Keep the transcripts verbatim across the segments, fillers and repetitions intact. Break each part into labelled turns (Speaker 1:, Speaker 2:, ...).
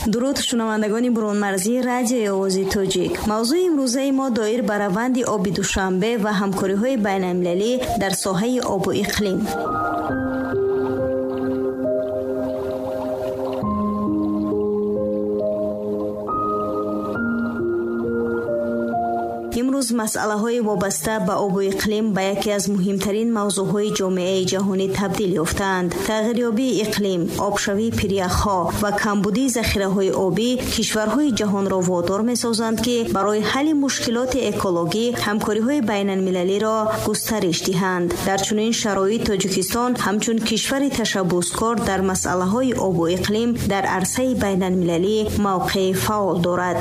Speaker 1: Дуруд шунавандагони берунмарзии радиои Овози Тоҷик. Мавзӯи имрӯзаи мо доир ба раванди оби Душанбе ва ҳамкориҳои байналмилалӣ дар соҳаи обу иқлим. Имрӯз масъалаҳои вобаста ба обу иқлим ба яке аз муҳимтарин мавзӯъҳои ҷомеаи ҷаҳонӣ табдил ёфтаанд. Тағйирёбии иқлим, обшавии пиряхҳо ва камбудии захираҳои обӣ кишварҳои ҷаҳонро водор месозанд, ки барои ҳалли мушкилоти экологӣ ҳамкориҳои байналмилалиро густариш диҳанд. Дар чунин шароит Тоҷикистон ҳамчун кишвари ташаббускор дар масъалаҳои обу иқлим дар арсаи байналмилалӣ мавқеи фаъол дорад.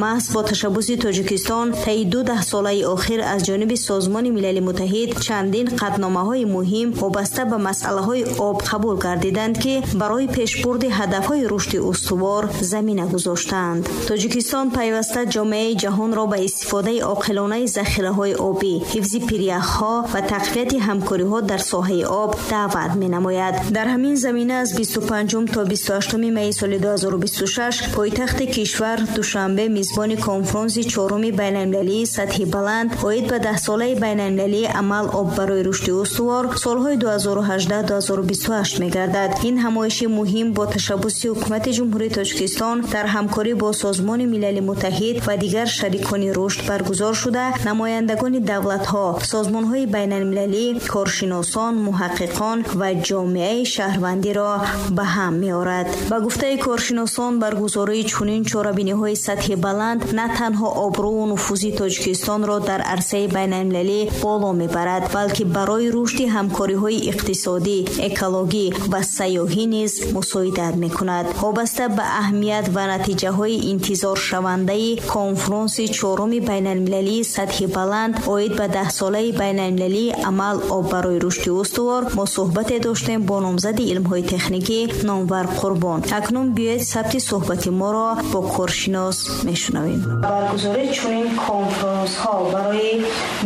Speaker 1: Маҳз бо ташаббуси Тоҷикистон таи ду даҳсолаи охир аз ҷониби Созмони Милали Муттаҳид чандин қатъномаҳои муҳим вобаста ба масъалаҳои об қабул гардиданд, ки барои пешбурди ҳадафҳои рушди устувор замина гузоштаанд. Тоҷикистон пайваста ҷомеаи ҷаҳонро ба истифодаи оқилонаи захираҳои обӣ, ҳифзи пиряхҳо ва тақвияти ҳамкориҳо дар соҳаи об даъват менамояд. Дар ҳамин замина аз бисту панҷум то бисту ҳаштуми майи соли ду ҳазору бисту шаш пойтахти кишвар Душанбе мизбони конфронси чоруми байналмилалии сатҳи баланд оид ба даҳсолаи байналмилалии амал об барои рушди устувор солҳои ду ҳазору ҳаждаҳ ду ҳазору бисту ҳашт мегардад. Ин ҳамоиши муҳим бо ташаббуси ҳукумати Ҷумҳурии Тоҷикистон дар ҳамкорӣ бо Созмони Милали Муттаҳид ва дигар шарикони рушд баргузор шуда, намояндагони давлатҳо, созмонҳои байналмилалӣ, коршиносон, муҳаққиқон ва ҷомеаи шаҳрвандиро ба ҳам меорад. Ба гуфтаи коршиносон, баргузории чунин чорабиниҳои сатҳи баланд на танҳо обрӯву нуфузи Тоҷикистонро дар арсаи байналмилалӣ боло мебарад, балки барои рушди ҳамкориҳои иқтисодӣ, экологӣ ва сайёҳӣ низ мусоидат мекунад. Вобаста ба аҳамият ва натиҷаҳои интизоршавандаи конфронси чоруми байналмилалии сатҳи баланд оид ба даҳсолаи байналмилалии амал об барои рушди устувор мо суҳбате доштем бо номзади илмҳои техникӣ Номвар Қурбон. Акнун биёед сабти суҳбати моро бо коршинос мешунавем. Баргузории чунин конфронсҳо барои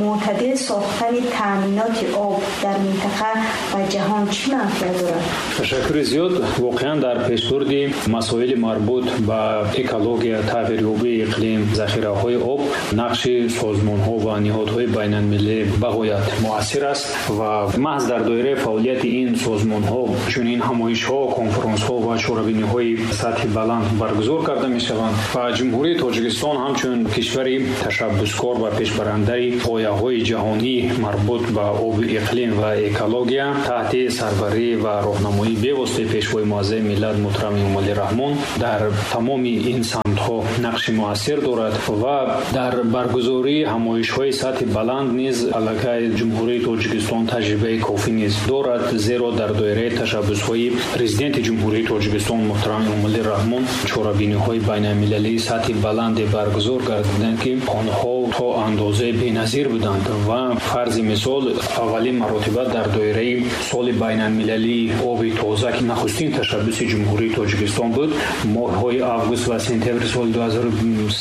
Speaker 1: мӯътадил сохтани таъминоти об дар минтақа ва ҷаҳон чӣ манфиат дорад?
Speaker 2: Ташаккури зиёд. Воқеан дар пешбурди масоили марбут ба экология, тағйирёбии иқлим, захираҳои об нақши созмонҳо ва ниҳодҳои байналмилалӣ бағоят муассир аст ва маҳз дар доираи фаъолияти ин созмонҳо чунин ҳамоишҳо, конфронсҳо ва чорабиниҳои сатҳи баланд баргузор карда мешаванд ва Ҷумҳурии Тоҷикистон ҳамчун кишвари ташаббускор ва пешбарандаи ғояҳои ҷаҳонӣ марбут ба обу иқлим ва экология таҳти сарварӣ ва роҳнамоии бевоситаи Пешвои муаззами миллат муҳтарам Эмомалӣ Раҳмон дар тамоми ин самтҳо нақши муассир дорад ва дар баргузории ҳамоишҳои сатҳи баланд низ аллакай Ҷумҳурии Тоҷикистон таҷрибаи кофӣ низ дорад, зеро дар доираи ташаббусҳои Президенти Ҷумҳурии Тоҷикистон муҳтарам Эмомалӣ Раҳмон чорабиниҳои байналмилалии сатҳи баланде баргузор гардиданд, ки онҳо то андозаи беназир буданд ва фарзи мисол аввалин маротиба дар доираи соли байналмилалии оби тоза, ки нахустин ташаббуси Ҷумҳурии Тоҷикистон буд, моҳҳои август ва сентябри соли ду ҳазору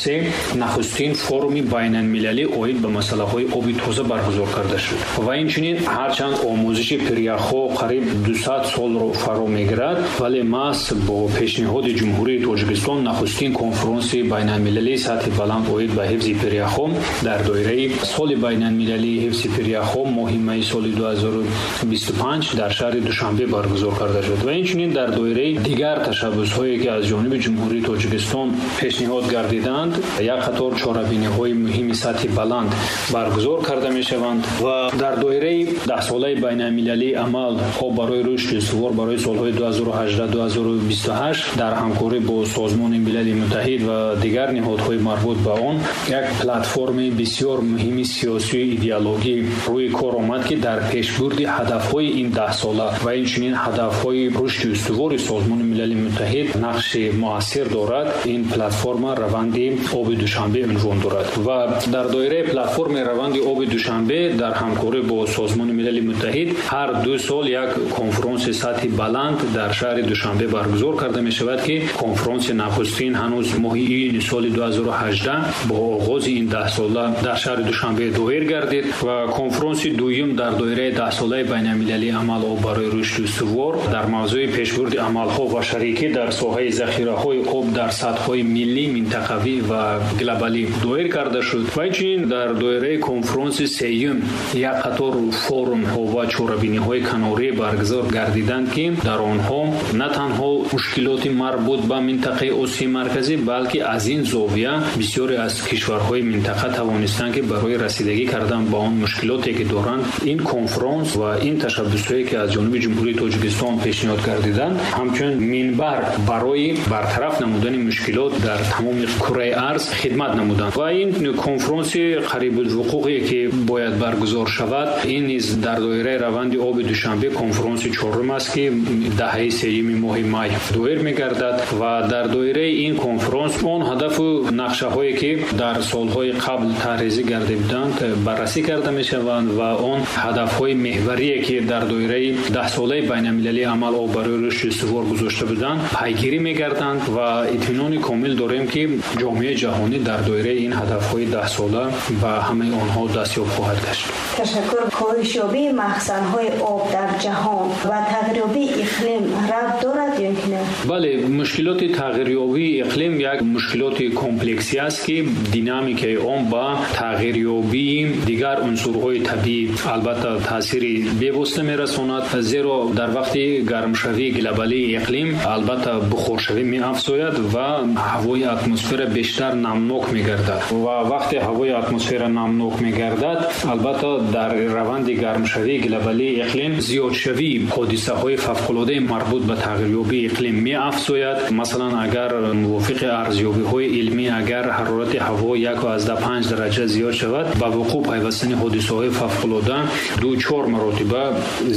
Speaker 2: се нахустин форуми байналмилалӣ оид ба масъалаҳои оби тоза баргузор карда шуд. Ва инчунин ҳарчанд омӯзиши пиряхҳо қариб дусад солро фаро мегирад, вале маҳз бо пешниҳоди Ҷумҳурии Тоҷикистон нахустин конфронси байналмилалии сатҳи баланд оид ба ҳифзи пиряхҳо дар доираи соли байналмилалии ҳифзи пиряхҳо моҳи майи соли ду ҳазору бисту панҷ дар шаҳри Душанбе баргузор карда шуд. Ва инчунин дар доираи дигар ташаббусҳое ки аз ҷониби Ҷумҳурии Тоҷикистон пешниҳод гардиданд, як қатор чорабиниҳои муҳими сатҳи баланд баргузор карда мешаванд ва дар доираи даҳсолаи байналмилалии амал об барои рушди устувор барои солҳои ду ҳазору ҳаждаҳ ду ҳазору бисту ҳашт дар ҳамкорӣ бо Созмони Милали Муттаҳид ва дигар ниҳодҳои марбут ба он як платформи бисёр муҳими сиёсию идеологӣ рӯи кор омад, ки дар пешбурди ҳадафҳои ин даҳсола ва инчунин ҳадафҳои рушди устувори Созмони Милали Муттаҳид нақши муассир дорад. Ин платформа раванди оби Душанбе унвон дорад ва дар доираи платформи раванди оби Душанбе дар ҳамкорӣ бо Созмони Милали Муттаҳид ҳар ду сол як конфронси сатҳи баланд дар шаҳри Душанбе баргузор карда мешавад, ки конфронси нахустин ҳанӯз моҳи июни соли ду ҳазору ҳаждаҳ бо оғози ин даҳсола дар шаҳри Душанбе доир гардид ва конфронси дуюм дар доираи даҳсолаи байналмилалии амал об барои рушди устувор дар мавзӯи пешбурди амалҳо ва шарикӣ дар соҳаи захираҳои об дар сатҳҳои миллӣ, минтақавӣ ва глобалӣ доир карда шуд. Ва инчунин дар доираи конфронси сеюм як қатор форумҳо ва чорабиниҳои канорӣ баргузор гардиданд, ки дар онҳо на танҳо мушкилоти марбут ба минтақаи Осиёи Марказӣ, балки аз ин зовия бисёре аз кишварҳои минтақа тавонистанд, ки барои расидагӣ кардан ба он мушкилоте ки доранд, ин конфронс ва ин ташаббусҳое ки аз ҷониби Ҷумҳурии Тоҷикистон пешниҳод гардиданд, ҳамчун минбар барои бартараф намудани мушкилот дар тамоми кураи арз хидмат намуданд. Ва ин конфронси қарибулвуқӯъе ки бояд баргузор шавад, ин низ дар доираи раванди оби Душанбе конфронси чорум аст, ки даҳаи сеюми моҳи май доир мегардад ва дар доираи ин конфронс он ҳадафу нақшаҳое ки дар солҳои қабл таҳризӣ гардида буданд баррасӣ карда мешаванд ва он ҳадафҳои меҳварие ки дар доираи даҳсолаи байналмилалии амал об барои рушди устувор гузошта буданд пайгирӣ мегарданд ва итминони комил дорем, ки ҷомеаи ҷаҳонӣ дар доираи ин ҳадафҳои даҳсола ба ҳамаи онҳо дастёб хоҳад гашт.
Speaker 1: Ташаккур. Коҳишёбии махзанҳои об дар ҷаҳон ва тағйирёбии иқлим рабт дорад ё ки не?
Speaker 2: Бале, мушкилоти тағйирёбии иқлим як мушкилоти комплексӣ аст, ки динамикаи он ба тағйирёбии дигар унсурҳои табиӣ албатта таъсири бевосита мерасонад, зеро дар вақти гармшавии глобалии иқлим албатта бухоршавӣ меафзояд ва ҳавои атмосфера бештар намнок мегардад ва вақте ҳавои атмосфера намнок мегардад, албатта дар раванди гармшавии глобалии иқлим зиёдшавии ҳодисаҳои фавқулодаи марбут ба тағйирёбии иқлим меафзояд. Масалан, агар мувофиқи арзёбиҳои илмӣ агар ҳарорати ҳаво як аз даҳ панҷ дараҷа зиёд шавад, ба вуқӯъ пайвастани ҳодисаҳои фавқулода ду чор маротиба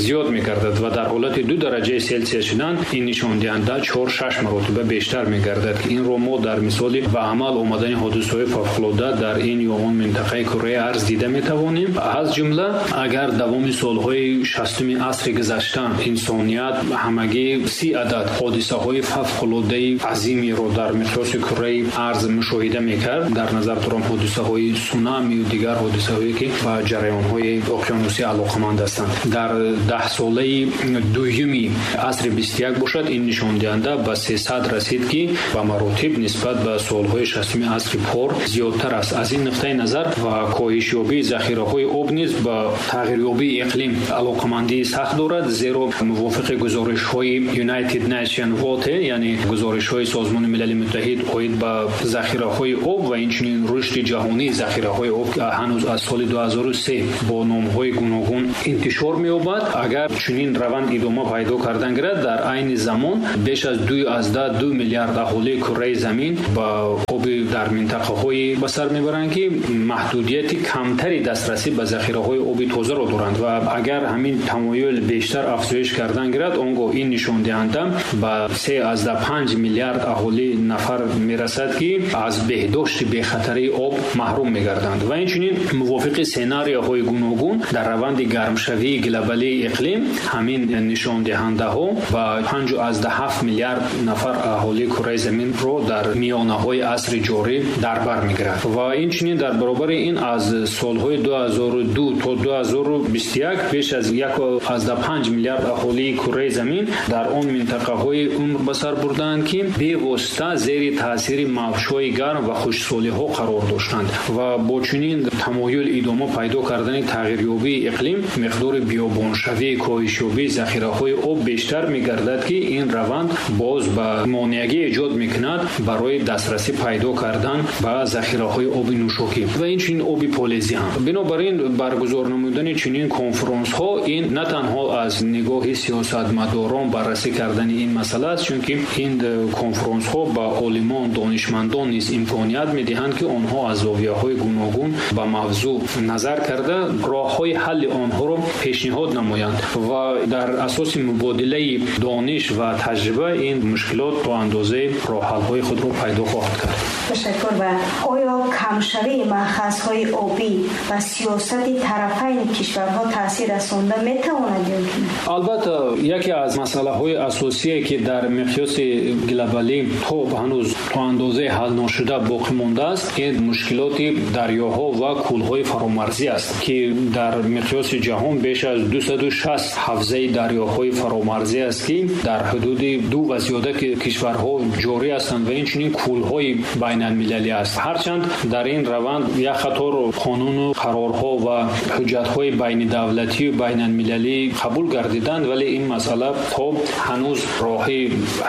Speaker 2: зиёд мегардад ва дар ҳолати ду дараҷаи Селсия шудан ин нишондиҳанда чор шаш маротиба бештар мегардад, ки инро мо дар мисоли ба амал омадани ҳодисаҳои фавқулода дар ин ё он минтақаи кураи арз дида метавонем. Аз ҷумла агар давоми солҳои шастуми асри гузашта инсоният ҳамагӣ си адад ҳодисаҳои фавқулодаи азимиро дар миқёси кураи арз мушоҳида мекард, дар назар дорам ҳодисаҳои сунами ва дигар ҳодисаҳое ки ба ҷараёнҳои уқёнусӣ алоқаманд ҳастанд, дар даҳсолаи дуюми асри бисту як бошад, ин нишондиҳанда ба сесад расид, ки ба маротиб нисбат ба солҳои шастуми асри пор зиёдтар аст. Аз ин нуқтаи назар ва коҳишёбии захираҳои об низ ба тағйирёбии иқлим алоқамандии сахт дорад, зеро мувофиқи гузоришҳои United Nations Water, яъне гузоришҳои Созмони Милали Муттаҳид оид ба захираҳои об ва инчунин рушди ҷаҳонии захираҳои об ҳанӯз аз соли ду ҳазору се бо номҳои гуногун интишор меёбад. Агар чунин раванд идома пайдо кардан гирад, дар айни замон беш аз ду аз даҳ ду миллиард аҳолии кураи замин ба оби дар минтақаҳое ба сар мебаранд, ки маҳдудияти камтари дастрасӣ ба захираҳои оби тозаро доранд ва агар ҳамин тамоюл бештар афзоиш кардан гирад, он гоҳ ин нишондиҳанда ба се аз даҳ панҷ миллиард аҳолӣ нафар мерасад, ки аз беҳдошти бехатарии об маҳрум мегарданд. Ва инчунин мувофиқи сенарияҳои гуногун дар раванди гармшавии глобалии иқлим ҳамин нишондиҳандаҳо ба панҷ аз даҳ ҳафт миллиард нафар аҳолии кураи заминро дар миёнаҳои асри ҷорӣ дар бар мегирад. Ва инчунин дар баробари ин аз солҳои ду ҳазору ду то ду ҳазору бисту як беш аз як аз даҳ панҷ миллиард аҳолии кураи замин дар он минтақаҳои умр ба сар бурданд, ки бевосита зери таъсири мавҷҳои гарм ва хушксолиҳо қарор доштанд ва бо чунин тамоюл идома пайдо кардани тағйирёбии иқлим миқдори биёбоншавӣ, коҳишёбии захираҳои об бештар мегардад, ки ин раванд боз ба монеагӣ эҷод мекунад барои дастрасӣ пайдо кардан ба захираҳои оби нӯшокӣ ва инчунин оби полезӣ ҳам. Бинобар ин баргузор намудани чунин конфронсҳо ин на танҳо аз нигоҳи сиёсатмадорон баррасӣ кардани ин масъала аст, чунки ин конфронсҳо ба олимон, донишмандон низ имконият медиҳанд, ки онҳо аз зовияҳои гуногун ба мавзӯъ назар карда роҳҳои ҳалли онҳоро пешниҳод намоянд ва дар асоси мубодилаи дониш ва таҷриба ин мушкилот то андозаи роҳҳалҳои худро пайдо хоҳад кард.
Speaker 1: Ташаккур. Ва оё камшавии маъхазҳои обӣ ба сиёсати тарафайни кишварҳо таъсир расонда метавонад ё ки?
Speaker 2: Албатта, яке аз масъалаҳои асосие, ки дар миқёси глобалӣ то ҳанӯз то андозаи ҳал ношуда боқӣ мондааст, ин мушкилоти дарёҳо ва кӯлҳои фаромарзӣ аст, ки дар миқёси ҷаҳон беш аз дусаду шаст ҳавзаи дарёҳои фаромарзӣ аст, ки дар ҳудуди ду ва зиёда кишварҳо ҷорӣ ҳастанд ва инчунин кӯлҳои байналмилалӣ аст. Ҳарчанд дар ин раванд як қатор қонуну қарорҳо ва ҳуҷҷатҳои байнидавлатию байналмилалӣ қабул гардиданд, вале ин масъала то ҳанӯз роҳи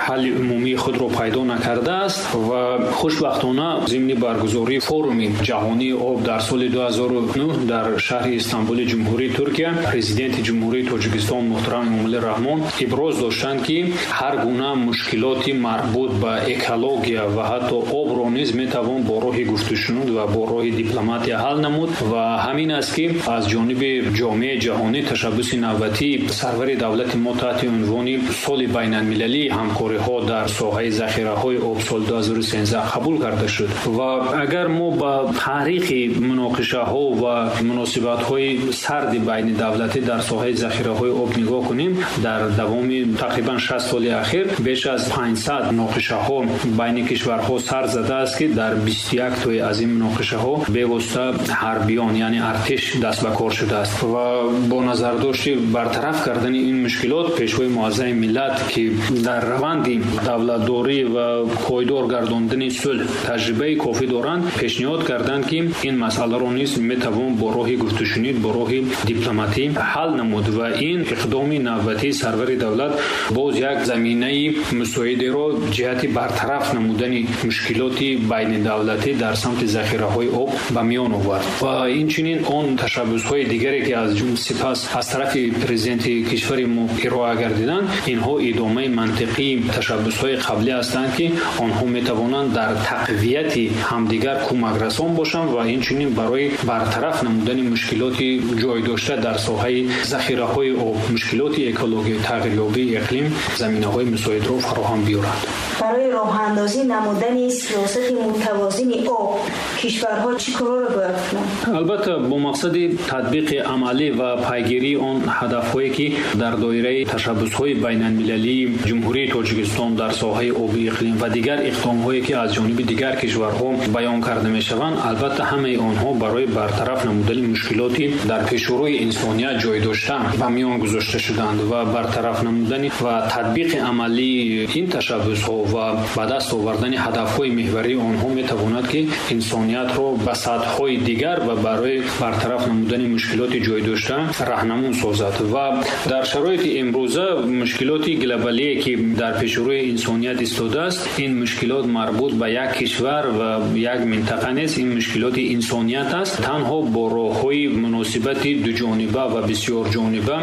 Speaker 2: ҳалли умумии худро пайдо накардааст ва хушбахтона зимни баргузории форуми ҷаҳонии об дар соли ду ҳазору нӯҳ дар шаҳри Истанбули Ҷумҳурии Туркия Президенти Ҷумҳурии Тоҷикистон муҳтарам Эмомалӣ Раҳмон иброз доштанд, ки ҳар гуна мушкилоти марбут ба экология ва ҳатто обро низ метавон бо роҳи гуфтушунуд ва бо роҳи дипломатия ҳал намуд ва ҳамин аст, ки аз ҷониби ҷомеаи ҷаҳонӣ ташаббуси навбатии сарвари давлати мо таҳти унвони соли байналмилалии ҳамкориҳо дар соҳаи захираҳои об соли ду ҳазору сенздаҳ қабул карда шуд. Ва агар мо ба таърихи муноқишаҳо ва муносибатҳои сарди байнидавлатӣ дар соҳаи захираҳои об нигоҳ кунем, дар давоми тақрибан шаст соли ахир беш аз панҷсад муноқишаҳо байни кишварҳо сар задааст, ки дар бисту як тои аз ин муноқишаҳо бевосита ҳарбиён, яъне артиш даст ба кор шудааст ва бо назардошти бартараф кардани ин мушкилот пешвои муаззами миллат, ки дар раванди давлатдорӣ ва пойдор гардондани сулҳ таҷрибаи кофӣ доранд, пешниҳод карданд, ки ин масъаларо низ метавон бо роҳи гуфтушунид, бо роҳи дипломатӣ ҳал намуд ва ин иқдоми навбатии сарвари давлат боз як заминаи мусоидеро ҷиҳати бартараф намудани мушкилоти байнидавлатӣ дар самти захираҳои об ба миён овард. Ва инчунин он ташаббусҳои дигаре, ки аз сипас аз тарафи президенти кишвари мо ироа гардиданд, инҳо идомаи мантиқии ташаббусҳои қаблӣ ҳастанд, ки онҳо метавонанд дар тақвияти ҳамдигар кӯмакрасон бошанд ва инчунин барои бартараф намудани мушкилоти ҷой дошта дар соҳаи захираҳои об, мушкилоти экологӣ, тағйирёбии иқлим заминаҳои мусоидро фароҳам биёранд.
Speaker 1: Барои роҳандозӣ намудани сиёсати мутавозини об кишварҳо чӣ корро бояд кунанд?
Speaker 2: Албатта, бо мақсади татбиқи амалӣ ва пайгирии он ҳадафҳое, ки дар доираи ташаббусҳои байналмилалии Ҷумҳурии Тоҷикистон дар соҳаи оби иқлим ва дигар иқдомҳое, ки аз ҷониби дигар кишварҳо баён карда мешаванд, албатта ҳамаи онҳо барои бартараф намудани мушкилоти дар пешрӯи инсоният ҷой дошта ба миён гузошта шуданд ва бартараф намудани ва татбиқи амалии ин ташаббусҳо ва ба даст овардани ҳадафҳои меҳварии онҳо метавонад, ки инсониятро ба сатҳҳои дигар ва барои бартараф намудани мушкилоти ҷой дошта раҳнамун созад. Ва дар шароити имрӯза мушкилоти глобалие, ки дар пешрӯи инсоният истодааст, ин мушкилот марбут ба як кишвар ва як минтақа нест, ин мушкилоти инсоният аст. Танҳо бо роҳҳои муносибати дуҷониба ва бисёрҷониба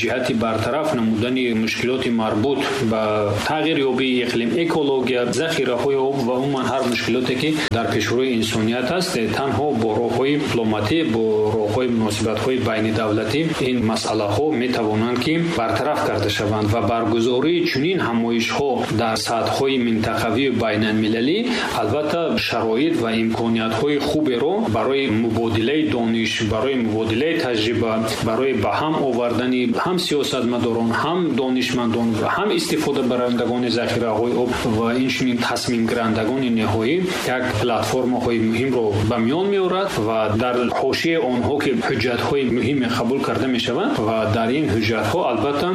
Speaker 2: ҷиҳати бартараф намудани мушкилоти марбут ба тағйирёбии иқлим, экология, захираҳои об ва умуман ҳар мушкилоте, ки дар пешрӯи инсоният аст, танҳо бо роҳҳои дипломатӣ, бо роҳҳои муносибатҳои байнидавлатӣ ин масъалаҳо метавонанд, ки бартараф карда шаванд ва баргузории чунин ҳамоишҳо дар сатҳҳои минтақавию байналмилалӣ албатта шароит ва имкониятҳои хуберо барои мубодилаи дониш, барои мубодилаи таҷриба, барои ба ҳам овардани ҳам сиёсатмадорон, ҳам донишмандон ва ҳам истифодабарандагони захираҳои об ва инчунин тасмимгирандагони ниҳоӣ як платформаҳои муҳимро ба миён меорад ва дар ҳошияи онҳо, ки ҳуҷҷатҳои муҳиме қабул карда мешаванд ва дар ин ҳуҷҷатҳо албатта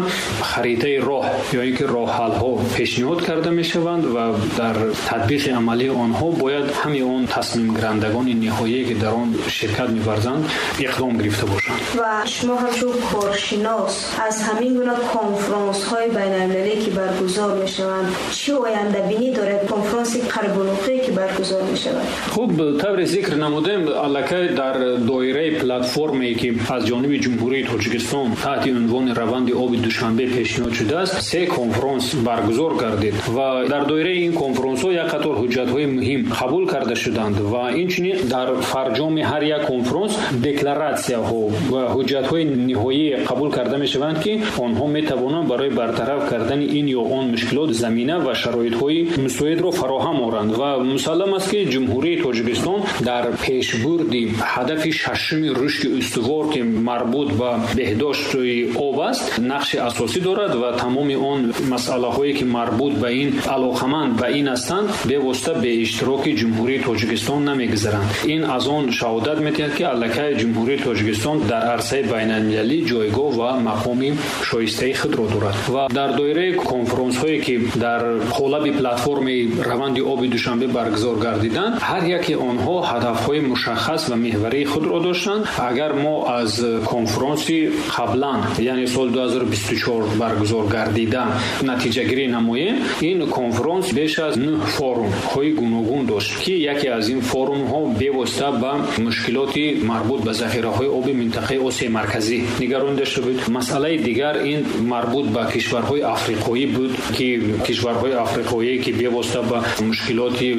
Speaker 2: харитаи роҳ ё ин ки роҳҳалҳо пешниҳод карда мешаванд ва дар татбиқи амалии онҳо бояд ҳамаи он тасмимгирандагони ниҳоие, ки дар он ширкат меварзанд, иқдом гирифта бошанд.
Speaker 1: Ва шумо ҳамчун коршинос аз ҳамин гуна конфронсҳои байналмилалӣ, ки баргузор мешаванд, чӣ ояндабинӣ доред? Конфронси Қарибулвуқӯъ, ки баргузор мешавад.
Speaker 2: Хуб, тавре зикр намудем, аллакай дар доираи платформае, ки аз ҷониби Ҷумҳурии Тоҷикистон таҳти унвони раванди оби Душанбе пешниҳод шудааст, се конфронс баргузор гардид ва дар доираи ин конфронсҳо як қатор ҳуҷҷатҳои муҳим қабул карда шуданд ва инчунин дар фарҷоми ҳар як конфронс декларатсияҳо ва ҳуҷҷатҳои ниҳоӣ қабул карда мешаванд, ки онҳо метавонанд барои бартараф кардани ин ё он мушкилот замина ва шароитҳои мусоидро фароҳам фароҳам оранд ва мусаллам аст, ки Ҷумҳурии Тоҷикистон дар пешбурди ҳадафи шашуми рушди устувор, ки марбут ба беҳдошти об аст, нақши асосӣ дорад ва тамоми он масъалаҳое, ки марбут ба ин алоқаманд ба ин ҳастанд, бевосита бе иштироки Ҷумҳурии Тоҷикистон намегузаранд. Ин аз он шаҳодат медиҳад, ки аллакай Ҷумҳурии Тоҷикистон дар арсаи байналмилалӣ ҷойгоҳ ва мақоми шоистаи худро дорад ва дар доираи конфронсҳое, ки дар қолаби платформи раванди оби Душанбе баргузор гардиданд, ҳар яке онҳо ҳадафҳои мушаххас ва меҳварии худро доштанд. Агар мо аз конфронси қаблан, яъне соли ду ҳазору бисту чор баргузор гардида, натиҷагирӣ намоем, ин конфронс беш аз нӯҳ форумҳои гуногун дошт, ки яке аз ин форумҳо бевосита ба мушкилоти марбут ба захираҳои оби минтақаи Осиёи Марказӣ нигаронида шуда буд. Масъалаи дигар ин марбут ба кишварҳои африқоӣ буд, ки кишварҳои африқоӣ, ки бевосита ба мушкилоти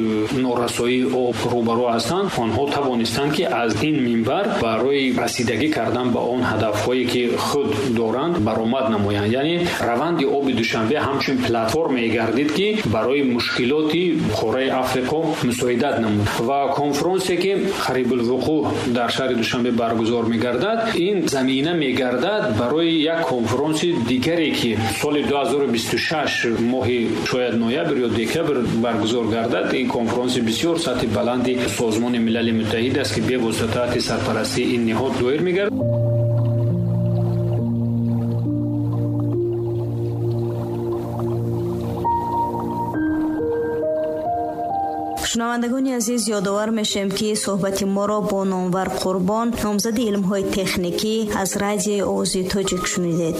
Speaker 2: норасоии об рӯбарӯ ҳастанд, онҳо тавонистанд, ки аз ин минбар барои расидагӣ кардан ба он ҳадафҳое, ки худ доранд, баромад намоянд. Яъне раванди оби Душанбе ҳамчун платформе гардид, ки барои мушкилоти қораи Африқо мусоидат намуд. Ва конфронсе, ки қарибулвуқӯъ дар шаҳри Душанбе баргузор мегардад, ин замина мегардад барои як конфронси дигаре, ки соли ду ҳазору бисту шаш моҳи шояд ноябр ё декабр баргузор гардад. Ин конфронси бисёр сатҳи баланди Созмони Милали Муттаҳид аст, ки бевосита таҳти сарпарастии ин ниҳод доир мегардад.
Speaker 1: Шунавандагони азиз, ёдовар мешавем, ки суҳбати моро бо Номвар Қурбон, номзади илмҳои техникӣ аз радиои Овози Тоҷик шунидед.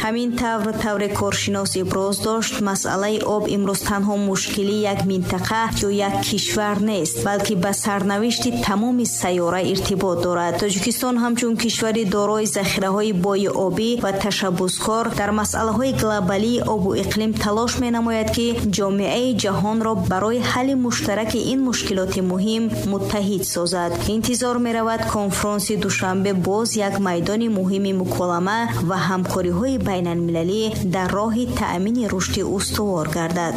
Speaker 1: Ҳамин тавр тавре коршинос иброз дошт, масъалаи об имрӯз танҳо мушкили як минтақа ё як кишвар нест, балки ба сарнавишти тамоми сайёра иртибот дорад. Тоҷикистон ҳамчун кишвари дорои захираҳои бои обӣ ва ташаббускор дар масъалаҳои глобалии обу иқлим талош менамояд, ки ҷомеаи ҷаҳонро барои ҳалли муштараки ин мушкилоти муҳим муттаҳид созад. Интизор меравад конфронси Душанбе боз як майдони муҳими муколама ва ҳамкориҳои байналмилалӣ дар роҳи таъмини рушди устувор гардад.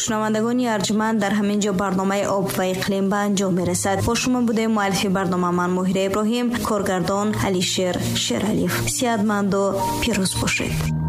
Speaker 1: Шунавандагони арҷманд, дар ҳамин ҷо барномаи об ва иқлим ба анҷом мерасад. Бо шумо будем муаллифи барнома ман Моҳира Иброҳим, коргардон Алишер Шералиев. Сиҳатманду пирӯз бошед.